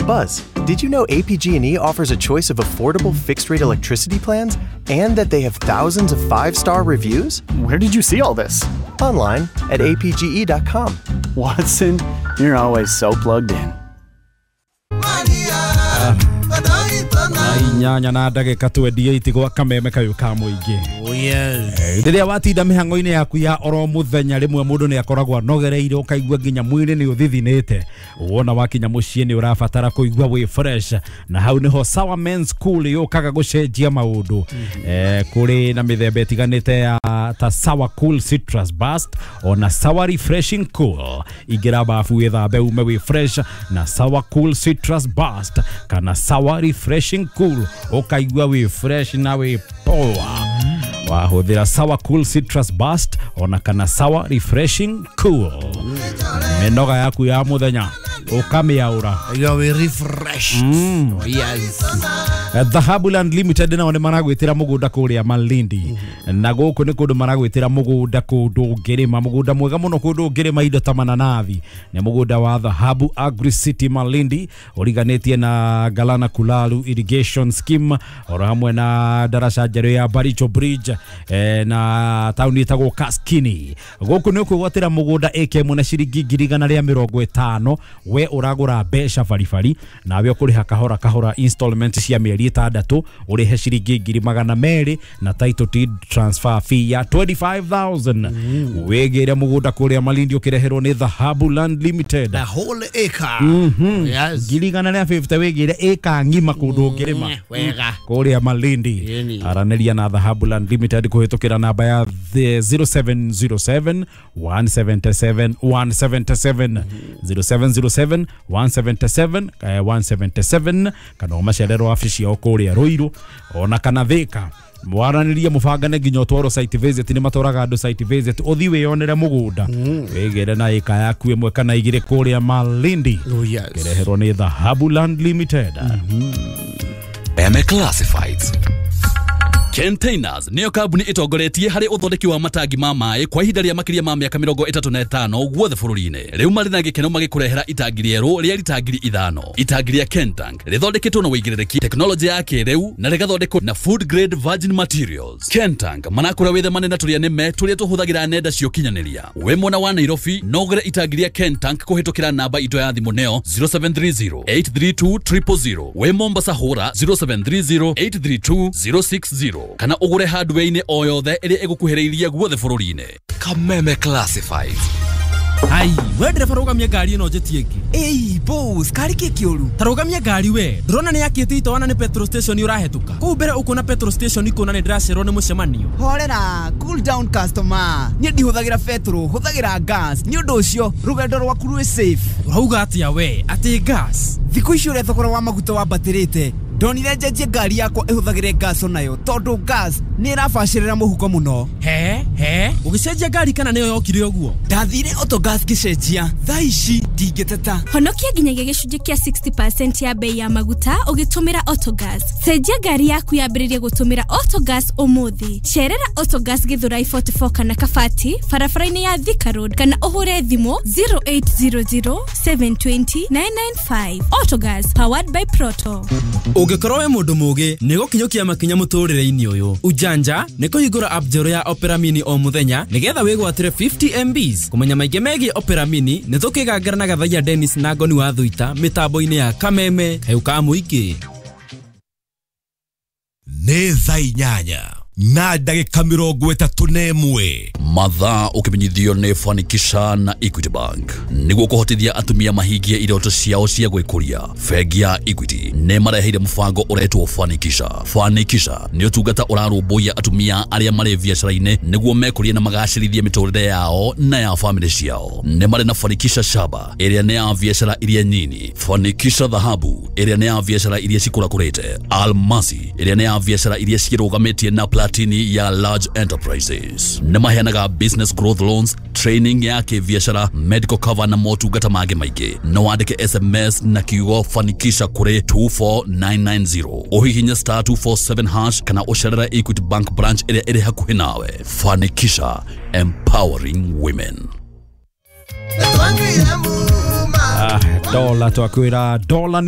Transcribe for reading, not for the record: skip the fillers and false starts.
Buzz, did you know APG&E offers a choice of affordable fixed-rate electricity plans and that they have thousands of 5-star reviews? Where did you see all this? Online at apge.com. Watson, you're always so plugged in. Inyanya na ndagĩka 28 gwa kameme kayũ ka mũingĩ. Oh yes. Rĩrĩa watinda mĩhang'o-inĩ yaku ya oro mũthenya rĩmwe mũndũ nĩ akoragwo anogereire ũkaigua nginya mwĩrĩ nĩ ũthithinĩte. Wona wakinya mũciĩ nĩ ũrabatara kũigua wĩ fresh, na hau nĩho Sawa Men's Cool yũkaga gũcenjia maũndũ. Kũrĩ na mĩthemba ĩtiganĩte ya ta Sawa Cool Citrus Burst ona Sawa Refreshing Cool. Ingĩra bafu wĩthambe ume wĩ fresh na Sawa Cool Citrus Burst kana Sawa Refreshing Cool ũkaigua wĩ fresh na wĩ poa. Wahũthĩra Sawa Cool Citrus Burst ona kana Sawa Refreshing Cool. Mĩnoga yaku ya mũthenya ũkamĩaũra. You're refreshed. Oh, yes. Dhahabu Land Limited nao nĩ maragwĩtĩra mũgũnda kũrĩa Malindi. Na gũkũ nĩ kũndũ maragwĩtĩra mũgũnda kũndũ ũngĩrĩma, mũgũnda mwega mũno kũndũ ũngĩrĩma indo ta mananathi. Nĩ mũgũnda wa Dhahabu Agri City Malindi ũriganĩtie na Galana Kulalu Irrigation Scheme oro hamwe na daraca njerũ ya Baricho Bridge na taũni ĩtagwo Kaskini. Gũkũ nĩ ũkwĩgwatĩra mũgũnda ĩka ĩmwe na ciringi 150,000, we ũragũra mbeca baribari nawe ũkũrĩha kahora kahora installment cia mĩeri 6 ũrĩhe ciringi 200,000 na title deed transfer fee ya 25,000. Wĩgĩre mũgũnda kũrĩa Malindi ũkĩreherwo nĩ Dhahabu Land Limited. The whole acre. Yes. 150,000 wĩgĩre ĩka ng'ima kũndũ ũngĩrĩma. Wega. Kũrĩa Malindi. Aranĩria na Dhahabu Land Limited kũhĩtũkĩra namba ya 0707 177 177 0707 177 177 kana ũmacererwo wabici yao kũrĩa Ruiru ona kana Thika. Mwaranĩrie mũbangane nginya ũtwarwo site visit, nĩ matwaraga andũ site visit ũthiĩ wĩyonere mũgũnda wĩgĩre na ĩka yaku ĩmwe kana igĩrĩ kũrĩa Malindi. Oh, yes. Kĩreherwo nĩ Dhahabu Land Limited. Eme Classifieds. Containers niyo kambuni itongoretie harĩ ũthondeki wa matangi ma maĩ kwa ihinda rĩa makĩria ma mĩaka 35 guothe bũrũri-inĩ. Rĩu marĩ na gĩkeno magĩkũrehera itangi rĩerũ rĩa rita 5,000. Itangi rĩa Kentank rĩthondeketwo na wĩigĩrĩrĩki tekinoronjĩ ya kĩrĩu na rĩgathondekwo na food grade virgin materials. Kentank manakũra wĩthemane na tũrĩa nĩme tũrĩa tũhũthagĩra nenda cia ũkinyanĩria. Wĩ mwena wa Nairobi no ũgũre itangi rĩa Kentank kũhĩtũkĩra namba itũ ya thimũ nĩyo 0730 832 000. Wĩ Mombasa hũra 0730 832 060 kana ũgũre hardware-inĩ o yothe ĩrĩa ĩgũkuhĩrĩirie guothe bũrũri-inĩ. Kameme Classifieds. Ai, we ndereba rũgamia ngari ĩno njĩtie ĩngĩ. Ĩi, boss, kari kĩ kĩũru? Ta rũgamia ngari we. Ndũrona nĩ yakĩte itoana nĩ petrol station ũrahetũka. Kũu mbere ũkuona petrol station ikuona nĩ ndĩracererwo nĩ mũcemanio. Horera, cool down customer. Niĩ ndihũthagĩra petrol, hũthagĩra gas. Nĩ ũndũ ũcio, rũgendo rwaku rwĩ safe. Ũrauga atĩa we? Atĩ gas? Thikũ ici ũrĩa thogora wa maguta wambatĩrĩte, ndonire njenjie ngari yakwa ĩhũthagĩre gas onayo tondũ gas nĩ ĩrabacĩrĩra mũhuko mũno. He ũgĩcenjia ngari kana nĩyo yokire ũguo? Ndathire Autogas ngĩcenjia, thaa ici ndingĩteta. Honokia nginyagia gĩcunjĩ kĩa 60% ya bei ya maguta ũgĩtũmĩra Autogas. Cenjia ngari yaku yambĩrĩrie gũtũmĩra Autogas ũmũthĩ. Cerera Autogas Githurai 44 kana Kabati barabara-inĩ ya Thika Road kana ũhũre thimũ 0800 720 995. Autogas powered by Proto. Ũngĩkorwo wĩ mũndũ mũũgĩ nĩ gũkinyũkia makinya mũtũrĩre-inĩ ũyũ. Ujanja nĩ kũhingũra app njerũ ya Opera Mini o mũthenya nĩgetha wĩgwatĩre 50 MBs. Kũmenya maingĩ megiĩ Opera Mini nĩ tũkĩgangara na Gathaiya Dennis na Ngoni wa Thuita mĩtambo-inĩ ya Kameme kayũ ka mũingĩ. Nĩ thaa 8 na ndagĩka 31. Mathaa ũkĩmenyithio nĩ Fanikisha na Equity Bank nĩguo kũhotithia atumia mahingie iroto ciao cia gwĩkũria. Bengi ya Equity nĩ mareheire mũbango ũretwo Fanikisha. Fanikisha nĩ ũtungata ũrarũmbũiya atumia arĩa marĩ biacara-inĩ nĩguo mekũrie na magacĩrithie mĩtũrĩre yao na ya famĩlĩ ciao. Nĩ marĩ na Fanikisha Shaba ĩrĩa nĩ ya biacara iria nyini, Fanikisha Dhahabu ĩrĩa nĩ ya biacara iria cikũrakũrĩte, Almasi ĩrĩa nĩ ya biacara iria cirũgamĩtie na platini ya large enterprises. Nĩ maheanaga business growth loans, training ya kĩbiacara, medical cover na motungata mangĩ maingĩ. No wandĩke SMS na kiugo Fanikisha kũrĩ 24990, ũhihinye star 247 hash kana ũcerere Equity Bank branch ĩrĩa ĩrĩ hakuhĩ nawe. Fanikisha, empowering women. Dola twakwĩra dola ni